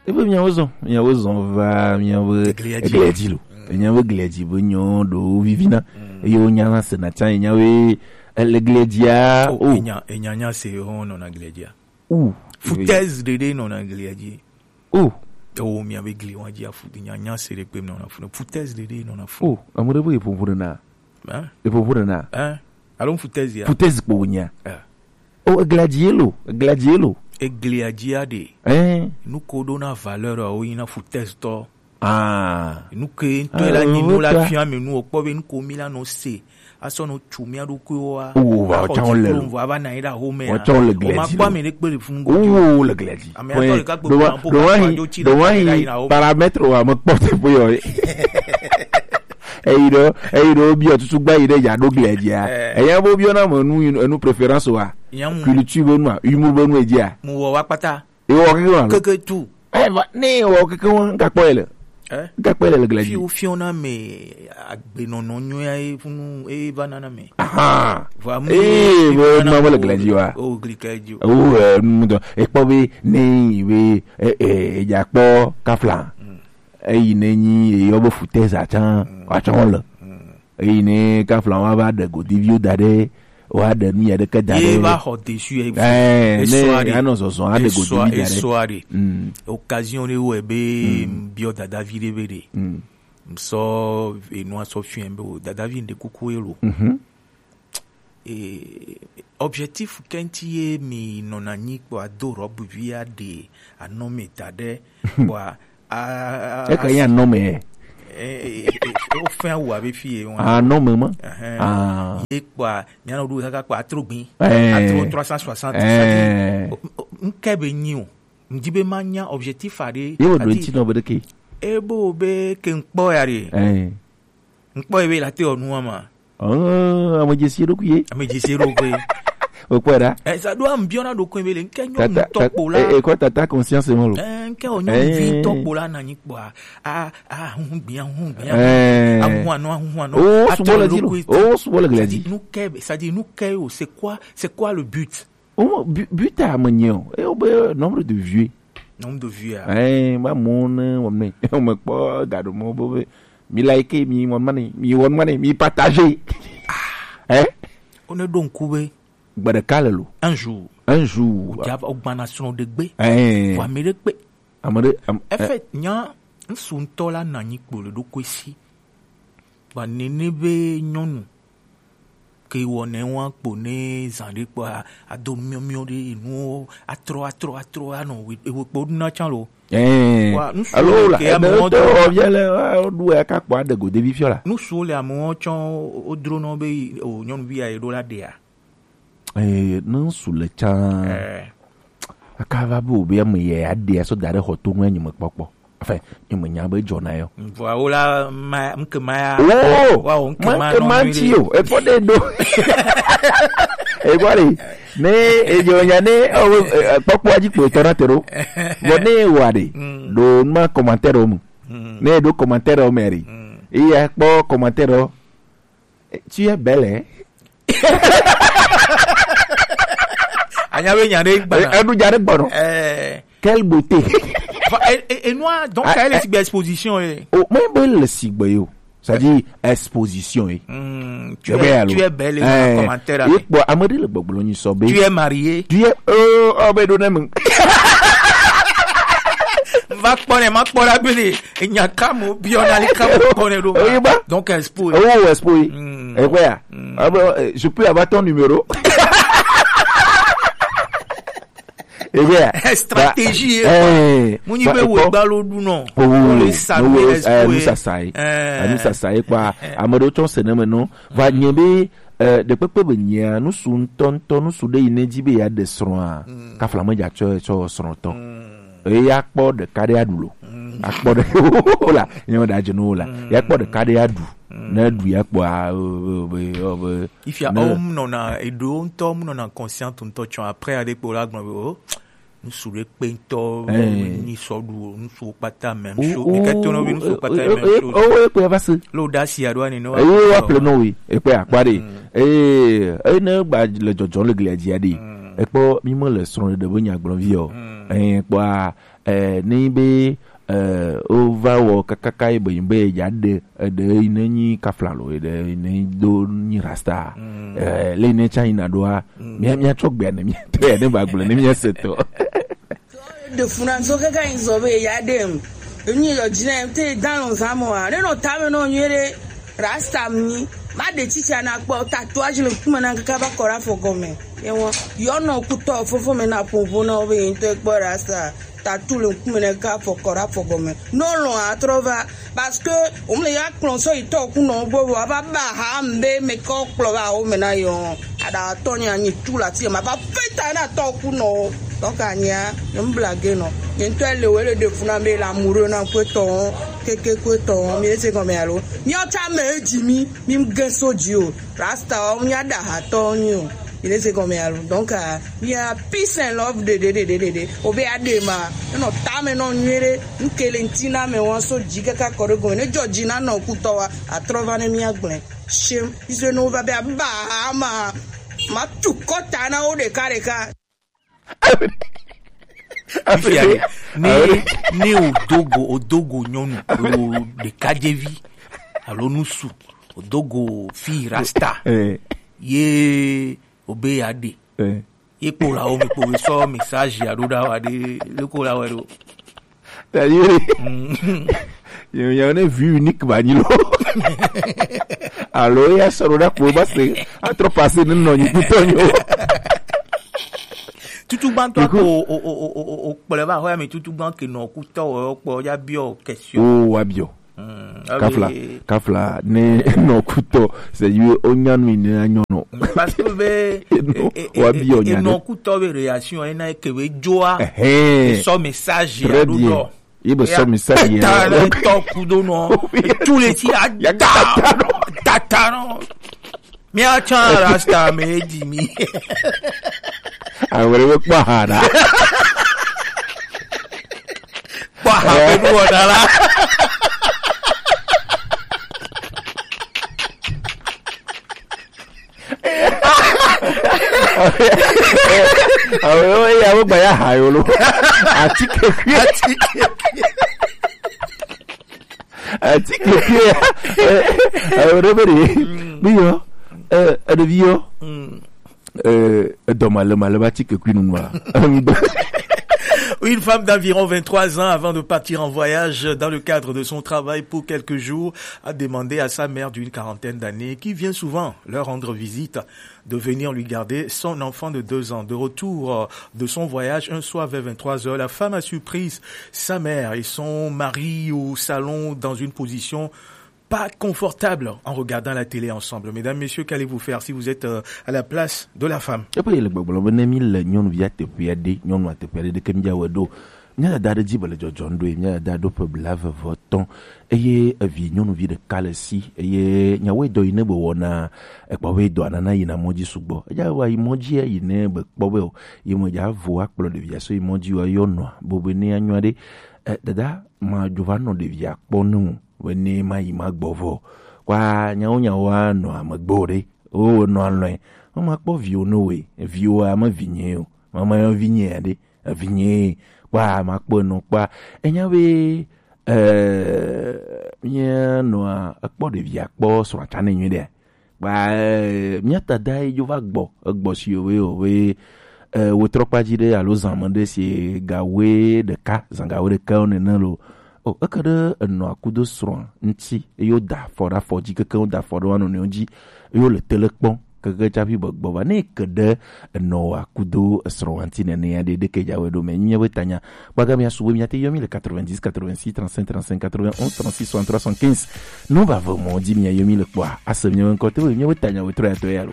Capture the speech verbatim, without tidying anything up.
Ebe miawo zɔn, miawo zɔn va miawo Eglia dzi. Eglia dzi lo. Mm. Miawo eglia dzi be nyɔ ɖo vivina. Mm. Eye wonya na sena tsa, enya we, ele eglia dzia. Oh, o. Enya, enya nya se ho nɔ na eglia dzia. O. Foutaise ɖeɖe nɔ na eglia dzi. O. Ewo miawo egli wa dzi afu, enya nya se ɖe kpe nɔ na fu. Foutaise ɖeɖe nɔ na fu. O, ame ɖe be eƒoƒo ɖe na. Hein? Eƒoƒo ɖe na. Hein? Alo foutaise ya. Foutaise kpo wonya. Eh. O, eglia dzi lo, eglia dzi lo. Eglia dzi aɖe. Eh. Nu ko ɖo na valeur wo yi na foutaise tɔ. Ah. Nu ke ŋutɔ la nyi nu la fia mi nu o kpɔ be nu ko mi la nɔ se. Asɔ nɔ tsu mia ɖokuiwo wa. O, wa tsã le. Wa va na yi ɖe aho me. Wa tsã le glia dzi. O ma kpɔ ame ɖe kpe le funu. O, le glia dzi. Ame atɔ ɖeka kpe kpe na po ka kpa dzo tsi ɖe ka yi na aho me. Paramètre wa me kpɔ te po yɔ. Eyi ɖo, eyi ɖo biɔ tutu gba yi ɖe dza ɖo glia dzia. Eh. Eya bo biɔ na me nu, enu préférence wa. Culture be nu a, humour be nu e dzia. Mu wɔ wa kpata. Ewɔ keke wa. Keke tu. Eh, va, ne wɔ keke wa, n ka kpɔ yi le. Eh? N ka kpɔ yi le le glia dzi. Fi wo fiɔ na me agbenɔnɔ nyuia ye funu e va na na me. Aha. Vɔ amu. Eh, wo ma le glia dzi wa. O gli ka dzi. O, eh, nu do. E kpɔ be ne be, eh, eh, e dza kpɔ kafla. Mm. Eyi ne nyi eyɔ be foutaise atsã, mm, wa tsã le. Mm. Eyi ne kafla wa va ɖe godiviwo da ɖe, wa ɖe nu ya ɖeke da ɖe. Ye va xɔ dessus ye. Eh, ne anɔ zɔzɔ aɖe godivi da ɖe. Esɔa ɖe. Mm. Occasion ɖe wɔe be, mm, biɔ dadavi ɖe be ɖe. Mm. Ŋsɔ enua sɔ fiɛ be o dadavi ɖe kuku ye lo. Mhm. Eh, objectif kɛnti ye mi nɔna nyi kpɔ ado robe vi aɖe anɔ me da ɖe kpɔ a, a, a, eka ya nɔ me. Eh, eh, eh, eh, o fɛn awu abe fi ye wa. Ah, nɔ me ma. Ɛhɛn. Ah. Ye kpɔ a, mi anɔ ɖo kaka kpɔ atro gbin. Eh. Atro trois cent soixante. Eh. N kɛ be nyi o. N di be ma nya objectif aɖe. Ye wo do ŋti nɔ be ɖeke. E bo be ke n kpɔ ya ɖe. Eh. N kpɔ ye be la te wɔ nua ma. Oh, ame dzesi eɖokui ye. Ame dzesi eɖokui. O kpɔe ɖa. Eh, sa ɖo am biɔna ɖokui be le, n kɛ nyɔnu tɔ kpo la. Eh, eh, kɔ tata conscience mo lo. Eh, n kɛ o nyɔnu vi tɔ kpo la na nyi kpɔa. A, a, hun gbia, hun gbia. Eh. Ahun anɔ, ahun anɔ. Oh, subo le dzi lo. Oh, subo le glia dzi. Nu kɛ, c'est-à-dire, nu kɛ o, c'est quoi, c'est quoi le but? Oh, bu-, but a me nye o. E wo be nombre de vues. Nombre de vues a. Eh, ma mo ne wo me, wo me kpɔ ga ɖo mo bo be. Mi like, mi wɔ mane, mi wɔ mane, mi partage. Eh? O ne ɖo ŋku be. Gbe ɖeka le lo. Un jour. Un jour. O dza o gbana srɔ̃ ɖe gbe. Eh. Vɔ ame ɖe kpe. Ame ɖe, am-, en fait, nya ŋsu ŋutɔ la na nyi kpo le ɖokui si. Vɔ nene be nyɔnu ke wɔnɛ wa kpo ne zã ɖe kpɔ a, ado miɔmiɔ ɖe enuwo atrɔ, atrɔ, atrɔ, anɔ we, ewe kpo ɖuna tsã lo. Eh. Wa, ŋsu alo le la, ke ebe amewo to do. Ɔvia le, wa, ɖu ya ka kpɔ aɖe go devi fiɔ la. Ŋsu le amewo tsɔ wodro nɔ be o nyɔnuvi ya ye ɖo la ɖea. Eh, ne ŋsu le tsã. Eh. Aka va be o be ame ya ya ɖe ya sɔ da ɖe xɔ to ŋu ya nyemekpɔkpɔ. Enfin, nyemenya be dzɔna yɔ. Vɔa wo la ma, ŋke ma ya. Oh, wa o ŋke ma, ŋke ma nɔ ŋti o. Ekpɔ ɖe ɖo. Ekpɔ ɖe. Ne edzo nya ne, o, eh, kpɔkpɔ dzi kpo tɔ na te ɖo. Vɔ ne wa ɖe. Mm. Ɖo ma commentaire o mu. Mm. Ne ɖo commentaire o me ɖe. Mm. Iya kpɔ commentaire o. Eh, tu es belle, hein? Anya be nya ɖe gbana. Eh, eɖu dza ɖe gbɔnɔ. Eh. Quelle beauté. Enfin, et, et, et noir, donc, ah, elle est eh. Sigbe exposition, eh. Oh, mais bon, le sigbe yo. C'est-à-dire, exposition, eh. Hmm, tu eh, es, ben, alors. Tu es belle, eh, commentaire, eh, avec. Bon, amadi le gbɔgblɔ nyi sɔ be. Tu es marié. Tu es, euh, oh, ben, donne-moi. Va kpɔ ne, ma kpɔ la bene. Enya ka mo biɔ na li ka mo kpɔ ne ɖo. Oye ba. Donc, expo. Oh, expo. Mm. Eh, ouais. Mm. Ah, ben, euh, je peux avoir ton numéro? Eh bien, stratégie, eh, mu nyi be wo gba lo ɖu nɔ. Oh, le sa no, eh, expo, nu sasa ye. Eh. Ah, nu sasa ye kpɔ. Ame ɖewo tsɔ se ne me nɔ. Va nye be, eh, ɖekpekpe be nyia, nusu ŋutɔ ŋutɔ, nusu ɖe yi ne dzi be ya ɖe srɔ̃a, mm, kafla me dza tsɔ, tsɔ srɔ̃tɔ. Mm. Eya kpɔ ɖeka ɖe aɖu lo. Mm. Akpɔ ɖe la, nye me ɖe adze no la. Mm. Ya kpɔ ɖeka ɖe aɖu. Mm. Ne ɖu ya kpɔ a, o, o, o, o, ifia ne o mu nɔna, eɖo ŋutɔ mu nɔna conscient ŋutɔ tsɔ après aɖe kpɔ la gblɔ be o, ŋsu ɖe kpe ŋutɔ, eh, ni sɔ ɖu o, ŋsu kpata même chose. Mi ke to no be ŋsu kpata même chose. O, o, o, o, o, va se. Lo da si aɖo ani no. Eh, o, wa ple no wi, e kpe akpa ɖe. Mm. Eh, eh, ne gba le dzɔdzɔ le glia dzi aɖe. Mm. Ekpɔ mi me le srɔ̃ ɖe be nya gblɔ vi o. Mm. Eh, kpɔa, eh, ne be, eh, wova wɔ kakaka ye be, be ya ɖe, eh, ɖe yi ne nyi kafla lo, ɖe yi ne do nyi rasta. Mm. Eh, le yi ne tsa yi na ɖoa, mm, mia, mia tsɔ gbea ne mia tɔ ya ne ba gblɔ ne mia se tɔ. De funa so kaka yi zɔ be ya ɖe m. Enyi yɔ dzi na te dan lo zan mo a. Ne no ta me no nyuie ɖe rasta mi. Ma ɖe tsitsia na kpɔ tatouage le ŋkume na kaka va kɔ ɖe afɔ gɔme. Ye wɔ, yɔ nɔ kutɔ fofo me na ƒoƒo na wo be yi ŋutɔ kpɔ rasta. Tatu le ŋkume ne ka fɔ kɔ ɖe afɔ gɔme. No lɔn atrɔ va. Parce que wo me ya kplɔ sɔ yi tɔ ku nɔ gbɔ va ba ha mbe me kɔ kplɔ va wo me na yɔ. Ada tɔ nya nyi tu la ti ma va feta na tɔ ku nɔ. Donc anya, ne blague nɔ. Ne ŋutɔ le wo le de funa be la muro na kwe tɔ. Keke kwe tɔ. Mi se gɔme alo. Mi o ta me dzi mi, mi ge so dzi o. Rasta o, mi ada ha tɔ nyi o. Il est comme alors. Donc, euh, il y a peace and love de, de, de, de, de, de. Obe adema. No, tame no nyere. Nkele ntina me wan so dzi kaka kɔ ɖe gɔme. Ne dzɔ dzi na nɔ kutɔ wa. Atrɔ va ne mi agblẽ. Shem. Izo no va be aba ma. Ma tu kɔta na wo ɖeka ɖeka. Fifia ɖe, ne, ne odogo, odogo nyɔnu, alo ɖekadzevi, alo nusu, odogo fi rasta, eh, ye obe ya ɖe. Eh. Ye kpo la wo me kpo be sɔ message ya ɖo ɖa wa ɖe, le ko la wa ɖo. Tadi, mm, yo, yo, ne vue unique ba nyi lo. Alo, ya sɔrɔ ɖa kpo ba se, atrɔ passer ne nɔ nyi kutɔ nyo. Tutugbãtɔ ko o, o, o, o, o, o kplɔe va xɔa me tutugbã ke nɔ kutɔ o kpɔ ya biɔ question. O, wa biɔ. Mm, kafla, abe kafla, ne nɔ kutɔ, c'est you, o nyanu ne anyɔ nɔ. Parce que be, no, e, e, wa e, biɔ e, nya nɔ kutɔ be réaction, e na ke be joa. Ehe. E sɔ message ya. Très bien. Ye be sɔ message ya. Ta le tɔ kudo nɔ. Oui. Tous les si a ya da, da, da, da, nɔ. Mia tsa rasta me di mi. Awere be kpɔ ha ɖa. Kpɔ ha be nu wɔna la. Awere ya be gba ya ha yo lo. Atike kui. Atike kui. Atike kui. Eh, eh, awere be de. Mm. Bi yo. Eh, aɖevi yo. Mm. Euh, edɔ male male va tike kui nunua. Une femme d'environ vingt-trois ans, avant de partir en voyage dans le cadre de son travail pour quelques jours, a demandé à sa mère d'une quarantaine d'années, qui vient souvent leur rendre visite, de venir lui garder son enfant de deux ans. De retour, euh, de son voyage, un soir vers vingt-trois heures, la femme a surpris sa mère et son mari au salon dans une position pas confortable en regardant la télé ensemble. Mesdames, messieurs, qu'allez-vous faire si vous êtes, euh, à la place de la femme ? Eƒe yele gbɔgblɔ be ne mi le nyɔnuvia teƒea ɖe, nyɔnua teƒea ɖe, ɖeke mi dza wɔe ɖo. Mía dada ɖe dzi be le dzɔdzɔm ɖo ye, mía dada ɖo ƒe blaeve vɔ tɔ̃ eye evi nyɔnuvi ɖeka le si eye nyawoe dɔ yi ne be wɔna ekpɔ be dɔa nana yina mɔ dzi sugbɔ. Edza wa yi mɔ dzi yi ne be kpɔ be o, yi me dza vo akplɔ ɖevia so yi mɔ dzi wa yɔ nɔa bo be ne anyɔ ɖe. Eh, dada, ma dzo va nɔ ɖevia kpɔ ne o. Wene ma yi ma gbɔ vɔ. Kwa nyawo nyawo a nɔ ame gbɔ ɖe. O nɔ alɔe. Mama kpɔ viwo no we. Viwo ame vinye o. Mama yɔ vinye ɖe. Vinye. Kwa ma kpɔ no kwa. Enya be, eh, mía nɔa ekpɔ ɖevia kpɔ srɔ̃a tsa ne nyuie ɖe. Ba, eh, mía dada yi dzo va gbɔ, egbɔ si o we, o we, eh, wo trɔ kpa dzi ɖe alo zan me ɖe si ga we ɖeka, zan ga we ɖeka wo nene lo. O, eke ɖe enɔa kudo srɔ̃a ŋuti, eye woda afɔ ɖe afɔ dzi, keke woda afɔ ɖe wo nɔnɔewo dzi, eye wole tele kpɔm, keke tsaƒi be gbɔ va. Ne eke ɖe enɔa kudo esrɔ̃a ŋuti nenea ɖe, ɖeke dza wɔe ɖo me, mía be tanya. Kpaga mía sugbɔ, mía te yɔ mí le quatre-vingt-dix, quatre-vingt-six, trente-cinq, trente-cinq, quatre-vingt-onze, trente-six, soixante-trois, soixante-quinze. Ne wova ve mɔ dzi mía yɔ mí le kpɔa, ase mía be ŋkɔ te be mía be tanya wetɔ ya tɔ ya lo.